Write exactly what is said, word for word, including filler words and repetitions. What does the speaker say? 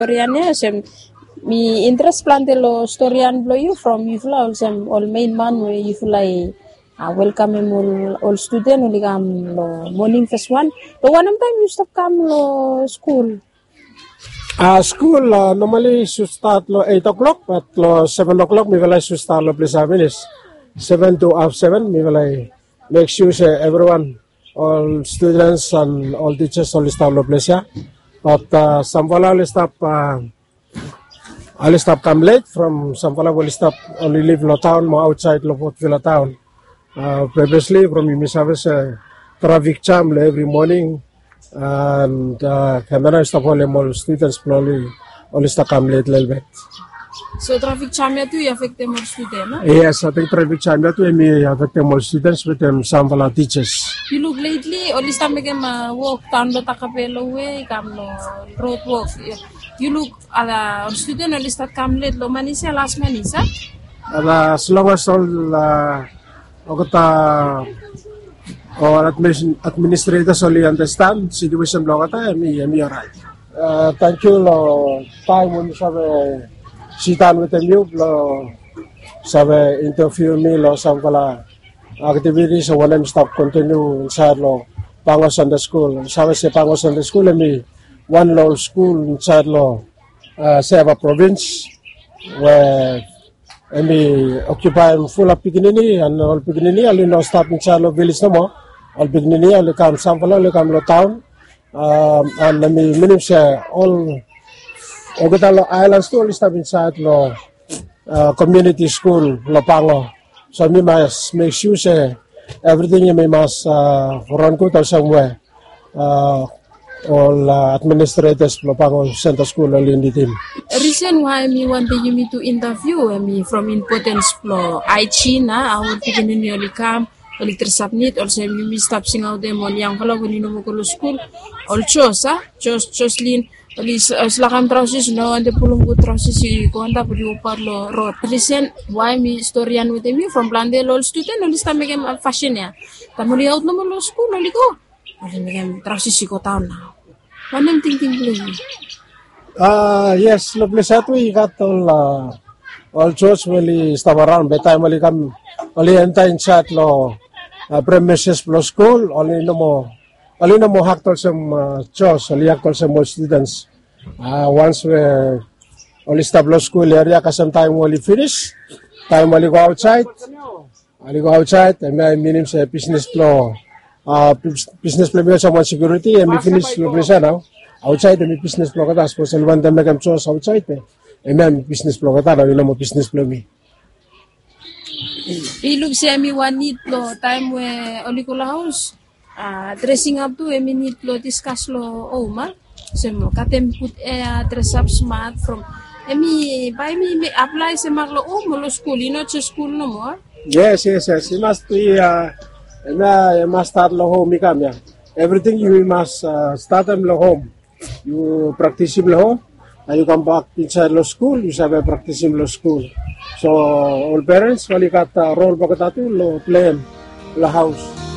Storian ya olsem mi interes plante long storian blong yu from yufala olsem ol mein man we yufala i welkamem ol studen oli kam long moning fes wan. Long wanem taem yu stap kam long skul? Skul nomali i sud stat long eit o'klok, bat long seven o'klok mifala i sud stat long ples ya finis. Seven to haf seven mifala i mek sua se evriwan, ol studens an ol tijas oli stap long ples ya. Bat samfala oli stap oli stap kam let from samfala we oli stap, oli liv long taon mo aotsaed long Port Vila taon. Previously from yumi save se trafik jam long evri moning, an kamera i stap holem ol studens blong oli, oli stap kam let lelebet. So trafik jam ya tu i afektem ol studen? Yes, ating trafik jam ya tu em i afektem ol studens wetem samfala tijas. Yu luk letli oli stap mekem wok daon long Takape long we i kam long rod wok. Yu luk ala ol studen oli stap kam let long manis ya, las manis ya. Ala as long as ol olgeta ol administretas oli andastan situesen blong olgeta em i, em i oraet. Tangkiu long taem we mi save sidaon wetem yu blong save inteviu mi long samfala aktivitis o wanem i stap kontiniu insaed long Pango Sande Skul. Save se Pango Sande Skul em i wan long ol skul insaed long Seva provins we em i okiupaem fulap pikinini, an ol pikinini oli no stap insaed long vilej nomo. Ol pikinini oli kam, samfala oli kam long taon. An em i minim se ol olgeta long aelans tu oli stap insaed long komuniti skul long Pango. So mi mas mek sua se evriting em i mas ran gud olsem we ol administretas blong Pango Sande Skul oli nidim. Risen wae mi wantem yumi tu inteviu em i from impotens blong aejin, a, hao ol pikinini oli kam, oli dresap nit olsem yumi stap singaotem ol yangfala we oli no moa go long skul. Ol Jos, a, Jos, Joslin, oli stap lakam traosis, no wantem pulum gud traosis i go antap, oli wokbaot long rod. Risen wae mi storian wetem yu from plante long ol studen oli stap mekem fasin ya. Taem oli aot nomo long skul oli go, oli mekem traosis i go daon nao. Wanem tingting blong yu? Yes, long ples ya tu i gat ol, ol Jos we oli stap araon be taem oli kam, oli enta insaed long premises blong skul, oli no moa, oli no moa akt olsem Jos, oli akt olsem ol studens. Wans we oli stap long skul eria kasem taem we oli finis, taem we oli go aotsaed, oli go aotsaed, hemia i minim se bisnes blong, bisnes blong mi olsem wan sekiuriti em i finis long ples ya nao. Aotsaed em i bisnes blong olgeta, sapos oli wantem mekem jos aotsaed be hemia em i bisnes blong olgeta nao, i no moa bisnes blong mi. I luk se em i wan nid blong taem we oli go long haos. Dresing ap tu em i nid blong diskas long hom, a? Olsem katem gud ea, dresap smat from, em i bae em i aplae se mak long hom o long skul, i no jes skul nomo, a? Yes, yes, yes, i mas tu ya. Hemia i mas stat long hom i kam ya. Evriting yu mas statem long hom. Yu praktisim long hom, na yu kambak insaed long skul yu save praktisim long skul. So ol perens oli gat rol blong olgeta tu long pleim long haos.